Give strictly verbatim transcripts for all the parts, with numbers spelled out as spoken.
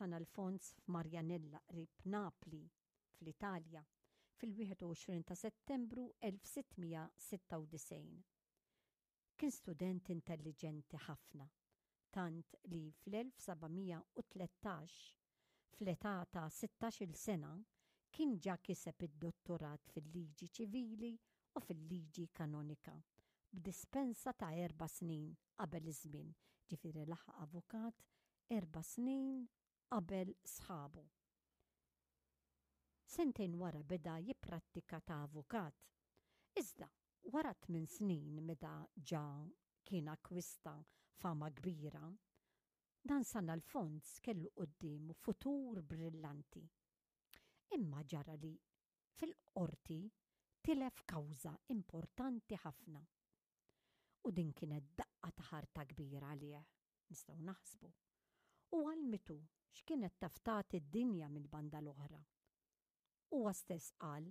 San Alfons f'Marjanella qrib Napli, fl-Italja, fil-wieħed u għoxrin ta' Settembru elf sitt mija sitta u disgħin. Kien student intelliġenti ħafna, tant li fl-elf seba' mija u tlettax, fl-età ta' sittax-il sena, kien ġa kiseb id-dottorat fil-liġi ċivili u fil-liġi kanonika, b'dispensa ta' erba' snin qabel iż-żmien, ġifieri laħaq avukat erba' snin qabel sħabu. Sentejn wara beda jipprattika ta' avukat. Iżda, wara tmien snin meta ġa kien akkwista fama kbira, dan San Alfons kellu quddiemu futur brillanti. Imma ġara li fil-qorti tilef kawża importanti ħafna. U din kienet daqqa ta' ħarta kbira għalih, nistgħu naħsbu. U għallmitu x'kienet taf tagħti d-dinja mill-banda l-oħra. Huwa stess qal,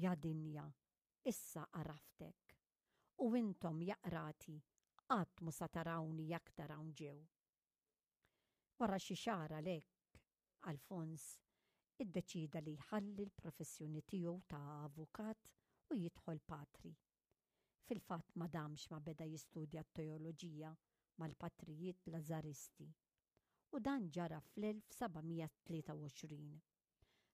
ja dinja, issa għaraftek, u intom ja qrati, qatt mu sa tarawni aktar hawn ġew. Wara xi xahar għalhekk, Alfons iddeċida li jħalli l-professjoni tiegħu ta' avukat u jidħol patri. Fil-fatt ma damx ma beda jistudja t-teoloġija mal-patrijiet Lazaristi. U dan ġara fl-elf seba' mija tlieta u għoxrin.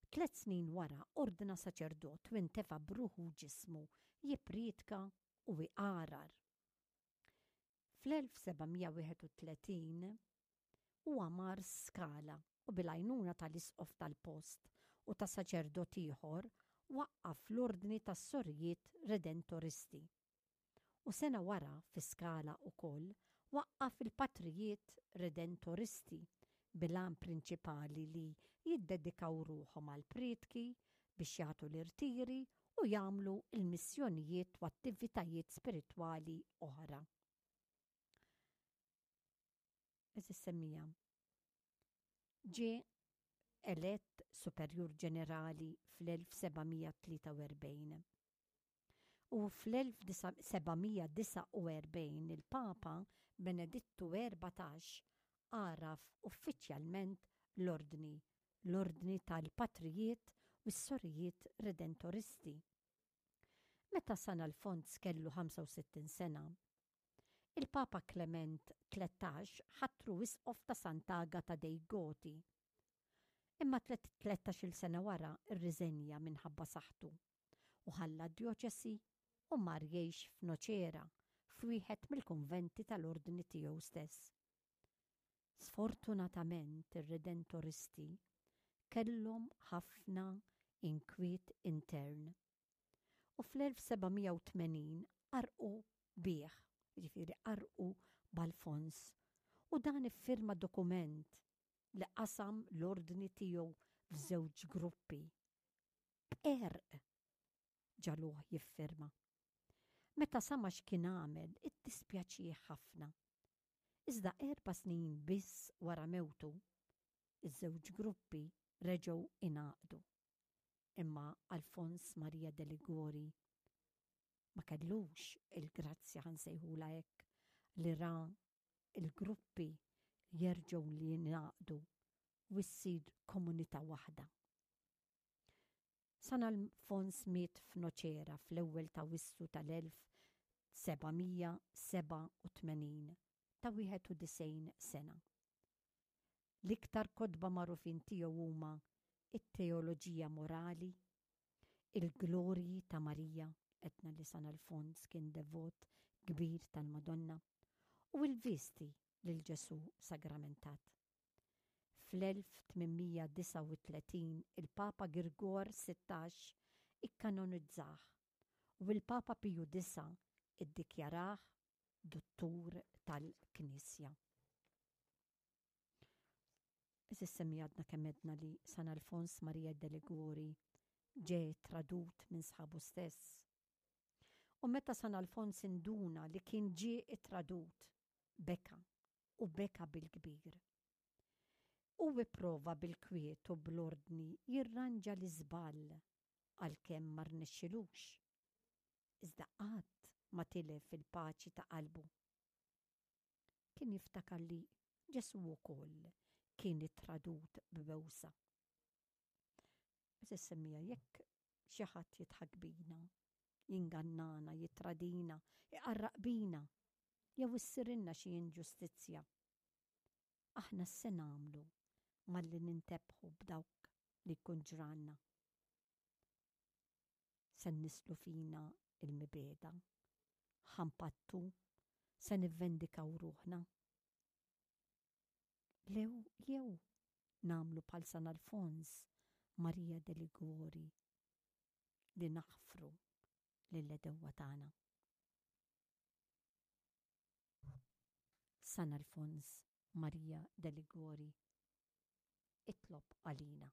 Tliet snin wara ordna saċerdot u intefa' b'ruħu u ġismu jippriedka u iqarar. Fl-elf seba' mija wieħed u tletin huwa mar Skala u bil-għajnuna tal-isqof tal-post u ta' saċerdot ieħor waqqaf l-ordni tas-sorijiet Redentoristi. U sena wara fi Skala wkoll waqqaf il-patrijiet Redentoristi bil-għan prinċipali li jiddedikaw ruħhom għal prietki biex jagħtu l-irtiri u jagħmlu l-missjonijiet u attivitajiet spiritwali oħra. Eżis semmija. Ġie elett superjur ġenerali fl-elf seba' mija tlieta u erbgħin. U fl-elf seba' mija disgħa u erbgħin il-Papa Benedittu erbatax għaraf uffiċjalment l-ordni, l-ordni tal-patrijiet u s-sorijiet redentoristi. Meta San Alfons kellu ħamsa u sittin sena, il-Papa Clement tlettax ħatru isqof ta' Sant'Agata dei Goti. Imma tlettax-il sena wara rriżenja minħabba saħħtu u ħalla d-djoċesi u mar jgħix f'Nocera, f'wieħed mill-kunventi tal-ordni tiegħu stess. Sfortunatament ir-redentoristi kellhom ħafna inkwiet intern. U fl-elf seba' mija u tmenin qarqu bih, jiġifieri qarqu b'Alfons, u dan iffirma dokument li qasam l-ordni tiegħu f'żewġ gruppi. B'qerq ġaluh jiffirma. Meta sama x'kien għamel, iddispjaċih ħafna. Iżda erba' snin biss wara mewtu, iż-żewġ gruppi reġgħu ingħaqdu. Imma Alfons Maria de Liguori ma kellux il-grazzja, ħansejħula hekk, li ra il-gruppi jerġgħu li jingħaqdu u ssir komunità waħda. San Alfons miet f'Nocera fl-ewwel ta' Wissu tal-elf seba' mija seba' u tmenin ta' wieħed u disgħin sena. L-iktar kotba magħrufin tiegħu huma it-Teoloġija Morali, il-Glorji ta' Marija, etna li San Alfons kien devot kbir tal-Madonna, u l-Visti lil Ġesu Sagramentat. Fl-elf tmien mija disgħa u tletin il-Papa Girgor sittax ikkanonizzah u l-Papa Piju disa' iddikjarah dottur tal-Knisja. Eżis semmi għadna kemm għedna li San Alfons Maria de Liguori ġie tradut minn sħabu stess. U meta San Alfons induna li kien ġie tradut, beka u beka bil-kbir. U ipprova bil-kwiet u bl-ordni jirranġa l-iżball għalkemm ma rnexxilux. Iżda qatt ma tilef il-paċi ta' qalbu. Kien jiftakar li Ġesu wkoll kien ittradut b'bewsa. Għeżież semmiegħa, jekk xi ħadd jidħak bina, jingannana, jittradina, iqarraq bina, jew issirilna xi inġustizzja, aħna x'se nagħmlu malli nintebħu b'dawk li jkun ġralna? Se nnisslu fina l-mibegħda? Ħa npattu? Se nivvendikaw ruħna? Lew jew nagħmlu bħal San Alfons Maria de Liguori li naħfru lill-għedewwa tagħna. San Alfons Maria de Liguori, itlob għalina.